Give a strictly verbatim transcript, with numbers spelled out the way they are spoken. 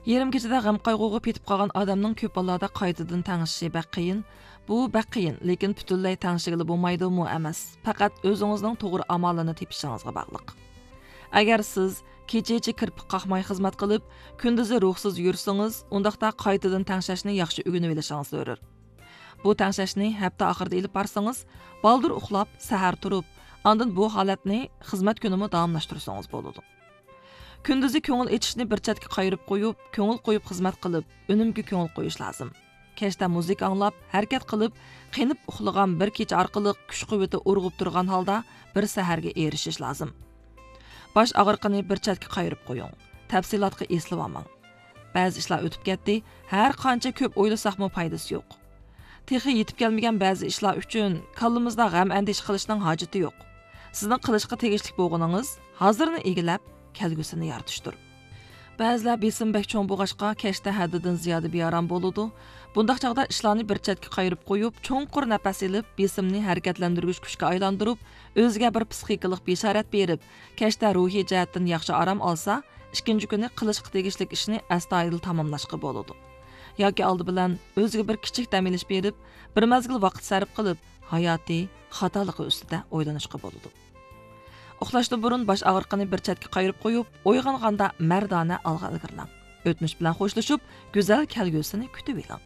يېرىم كېچىدە غەم-قايغۇغا پېتىپ قالغان ئادەمنىڭ كۆپ ھاللاردا قايتىدىن تەڭشىشى بەك قىيىن. بۇ بەك قىيىن، لېكىن پۈتۈنلەي تەڭشىگىلى بولمايدۇمۇ ئەمەس. پەقەت ئۆزىڭىزنىڭ توغرا ئامالىنى تېپىشىڭىزغا باغلىق. ئەگەر سىز كېچىچە كىرپىك قاقماي خىزمەت قىلىپ، كۈندۈزى روھسىز يۈرسىڭىز، ئۇنداقتا قايتىدىن تەڭشەشنى ياخشى ئۆگىنىۋېلىشىڭىز زۆرۈر. بۇ تەڭشەشنى ھەپتە ئاخىرىدا ئېلىپ بارسىڭىز، بالدۇر ئۇخلاپ، سەھەر تۇرۇپ، ئاندىن بۇ ھالەتنى خىزمەت كۈنىمۇ داۋاملاشتۇرسىڭىز بولىدۇ. كۈندۈزى كۆڭۈل ئېچىشنى بىر چەتكە قايرىپ قويۇپ، كۆڭۈل قويۇپ خىزمەت قىلىپ، ئۈنۈمگە كۆڭۈل قويۇش لازىم. كەچتە مۇزىكا ئاڭلاپ، ھەرىكەت قىلىپ، قېنىپ ئۇخلىغان بىر كېچە ئارقىلىق كۈچ-قۇۋۋىتى ئۇرغۇپ تۇرغان ھالدا بىر سەھەرگە ئېرىشىش لازىم. باش ئاغرىقىنى بىر چەتكە قايرىپ قويۇڭ. تەپسىلاتقا ئېسىلىۋالماڭ. بەزى ئىشلار ئۆتۈپ كەتتى، ھەر قانچە كۆپ ئويلىساقمۇ پايدىسى يوق. تېخى يېتىپ كەلمىگەن بەزى ئىشلار ئۈچۈن كاللىمىزدا غەم-ئەندىشە قىلىشنىڭ ھاجىتى يوق. سىزنىڭ قىلىشقا تېگىشلىك بولغىنىڭىز ھازىرنى ئىگىلەپ، كەلگۈسىنى يارىتىشتۇر. بەزىلەر بېسىم بەك چوڭ بولغاچقا، كەچتە ھەددىدىن زىيادە بىئارام بولىدۇ. بۇنداق چاغدا ئىشلارنى بىر چەتكە قايرىپ قويۇپ، چوڭقۇر نەپەس ئېلىپ، بېسىمنى ھەرىكەتلەندۈرگۈچ كۈچكە ئايلاندۇرۇپ، ئۆزىگە بىر پىسخىكىلىق بېشارەت بېرىپ، كەچتە روھىي جەھەتتىن ياخشى ئارام ئالسا، ئىككىنچى كۈنى قىلىشقا تېگىشلىك ئىشنى ئەستايىدىل تاماملاشقا بولىدۇ. ياكى ئالدى بىلەن ئۆزىگە بىر كىچىك دەم ئېلىش بېرىپ، بىر مەزگىل ۋاقىت سەرپ قىلىپ، ھاياتىي خاتالىقى ئۈستىدە ئويلىنىشقا بولىدۇ. ئۇخلاشتىن بۇرۇن باش ئاغرىقىنى بىر چەتكە قايرىپ قويۇپ، ئويغانغاندا مەردانە ئالغا ئىلگىرىلەڭ. ئۆتمۈش بىلەن خوشلىشىپ، گۈزەل كەلگۈسىنى كۈتۈۋېلىڭ.